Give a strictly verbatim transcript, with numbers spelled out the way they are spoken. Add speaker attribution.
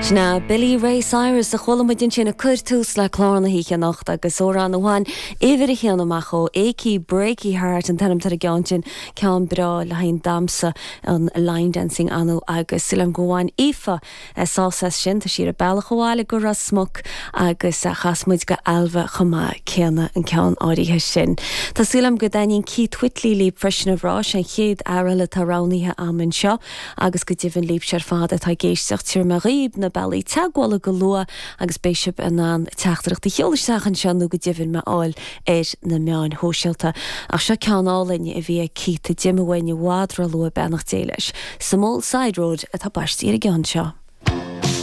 Speaker 1: Sin Billy Ray Cyrus a chuala muid ansin ag cur tús le clár na hoíche anocht agus amhrán amháin uimhir a haon amach ó Achy Breaky Heart an t-ainm ar an gceann sin ceann breá le haghaidh damhsa an line dancing anú agus súil agam go bhfuil Aoife sásta sin tá sí ar a bealach abhaile go Ros Muc agus chas muid go Ailbhe chomh maith céanna an ceann áirithe sin. Tá súil agam go dtaitníonn Keith Whitley libh freisin a bhrá an chéad amhrán atá roghnaithe agam anseo agus go deimhin libh ar fad atá ag éisteacht tabharfaidh mé dhaoibh na bealaí teagmhála go luath agus beidh sibh in ann teachtaireacht a sheoladh isteach anseo nó go deimhin mé a fháil ar na meáin shóisialta. Ach seo ceann álainn a bhí ag Keith a d'imigh uainn i bhfad róluath beannacht Dé leis. Some old side road atá baiste ar an gceann seo.